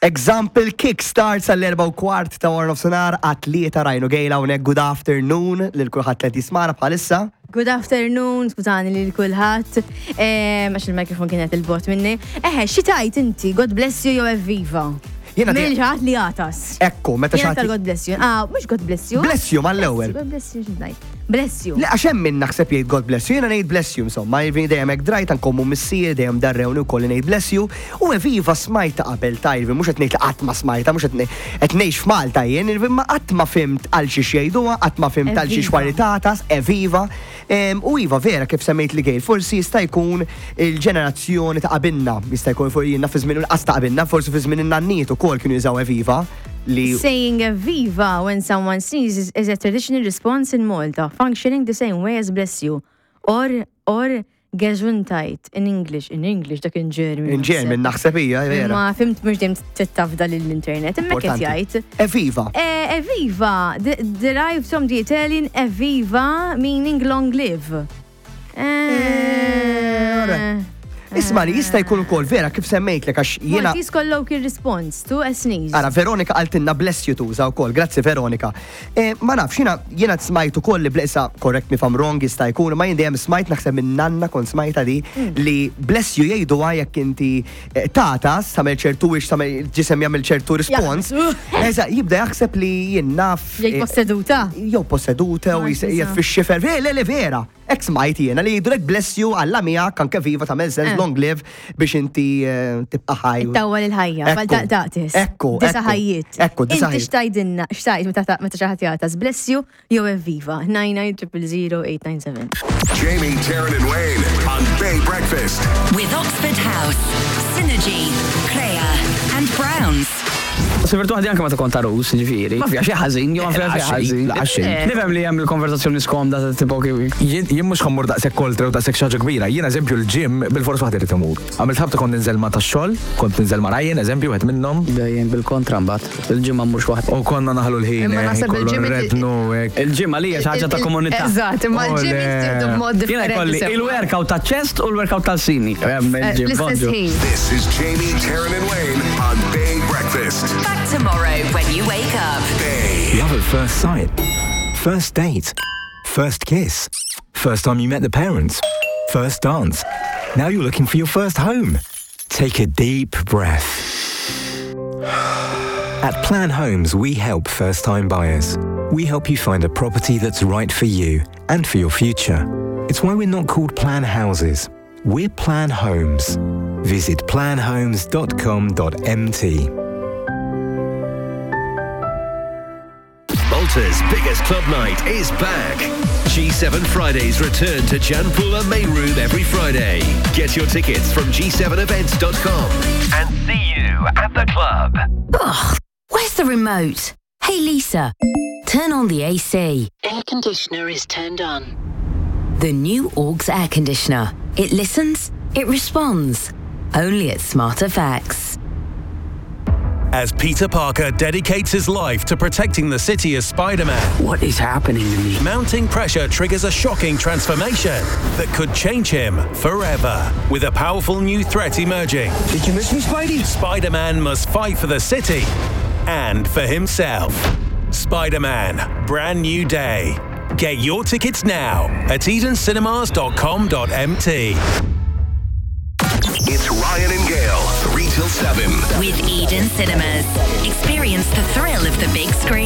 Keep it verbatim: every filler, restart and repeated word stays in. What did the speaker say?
Example kickstart sal-erba u kwart ta' wara nofsinhar għat-tlieta rajnu gejla hawnhekk good afternoon lil kulħadd li jismagħna bħalissa. Good afternoon, skużani lil kulħadd. Għax il-mikrofon kienet 'il bogħod minni. Eħe, xi tgħid inti? God bless you jew evviva? Jiena Minn ħadd li għatas. Ekku, meta Jiena xi ħadd. tal-God bless you. Ah, mhux God bless you. Bless you mal-ewwel. God bless you, x'ngħid? Bless you. Le, għax hemm min naħseb jgħid God bless you, jiena ngħid bless you, insomma, jiġifieri dejjem hekk drajt anke missier dejjem darrewni wkoll ngħid bless you, u eviva smajta qabel ta' jiġifieri mhux qed ngħid li qatt ma smajta, mhux qed qed ngħix f'Malta jien, jiġifieri ma qatt ma fhimt għal xi jgħiduha, qatt ma fhimt għal xi Evviva. xwaritatas, eviva. Em, U iva vera kif semmejt li gejl, forsi jista' jkun il-ġenerazzjoni ta' qabilna, jista' jkun fuq jiena fi żmien il-qas ta' qabilna, forsi fi żmien in-nanniet ukoll kienu jużaw eviva li Saying evviva when someone sneezes is a traditional response in Malta, functioning the same way as bless you. Or, or Gesundheit in English. In English, dak in German. In German naħseb hija vera. Ma fhimt mhux dejjem tittafda l-internet. Imma qed Importanti. jgħid. Eviva. Eh, Evviva, de- derived from the Italian evviva, meaning long live. Eh, alright. Isma li jista' jkun ukoll vera kif semmejtlek għax jiena Maltese colloquial response to a sneeze. Ara, Veronika qaltilna bless you tuża wkoll, grazzi Veronika. Eh, ma nafx, jiena jiena smajt ukoll li blessa, correct me if I'm wrong, jista' jkun, ma jien dejjem smajt naħseb minn nanna kont smajta di li bless you jgħiduha jekk inti eh, tatas, tagħmel ċertu wix, tagħmel ġisem jagħmel ċertu respons. Eża, jibda jaħseb li jien naf. Jgħid eh, posseduta. Jew posseduta u Ma jgħid fix-xifer. Le, le, vera. Hekk smajt jiena li jgħidulek bless you Alla miegħek anke viva tagħmel sens Eh. long live biex inti eh, tibqa' ħaj. Tawwal il-ħajja, Ekku, fal taqtis. Ekku, Disa ekku, ħajjiet. Ekku, disa Inti ħajjiet. x'tgħidilna, x'tgħid meta meta xi ħadd jagħtas bless you jew evviva. nine nine zero zero eight nine seven. Jamie, Taryn, and Wayne on Bay Breakfast. With Oxford House, Synergy, Crea, and Browns. Sifirt waħdi anke meta kont għarus, ġifieri. Ma fiha xi ħażin, jew ma fiha xi ħażin. La, xejn. Nifhem li hemm il-konversazzjoni skomda ta' tipo kif. Jien jien mhux ħa mmur daqshekk oltre u daqshekk xi ħaġa kbira. Jien eżempju l-gym bil-fors waħdi rrid imur. Għamilt ħabta kont ninżel ma tax-xogħol, kont ninżel ma' Ryan, eżempju, wieħed minnhom. Dejjem bil-kontra mbagħad. Il-gym ma mmurx waħdi. U konna naħlu l-ħin, Imma eh, naħseb kollu il-gym inti- nrednu, hekk. Il-gym għalija xi ħaġa ta' komunità. Eżatt, imma l-gym Ole. jittieħdu b'mod Jiena differenti. jkolli sewa. il-workout ta' chest u l-workout tal-sini. Eh, Fl-istess ħin. This is Jamie, Taryn, and Wayne on Bay Breakfast. Back tomorrow when you wake up. Bay. Love at first sight. First date. First kiss. First time you met the parents. First dance. Now you're looking for your first home. Take a deep breath. At Plan Homes, we help first time buyers. We help you find a property that's right for you and for your future. It's why we're not called Plan Houses. We're Plan Homes. Visit planhomes dot com dot M T. Malta's biggest club night is back. G seven Fridays return to Gianpula Main Room every Friday. Get your tickets from G seven events dot com and see you at the club. Ugh, where's the remote? Hey Lisa, turn on the A C. Air conditioner is turned on. The new Aux air conditioner. It listens, it responds. Only at Smart F X. As Peter Parker dedicates his life to protecting the city as Spider-Man, What is happening to me? Mounting pressure triggers a shocking transformation that could change him forever. With a powerful new threat emerging, Did you miss me, Spidey? Spider-Man must fight for the city and for himself. Spider-Man, Brand New Day. Get your tickets now at edencinemas dot com dot M T. It's Ryan and Gail, three till seven. With Eden Cinemas. Experience the thrill of the big screen.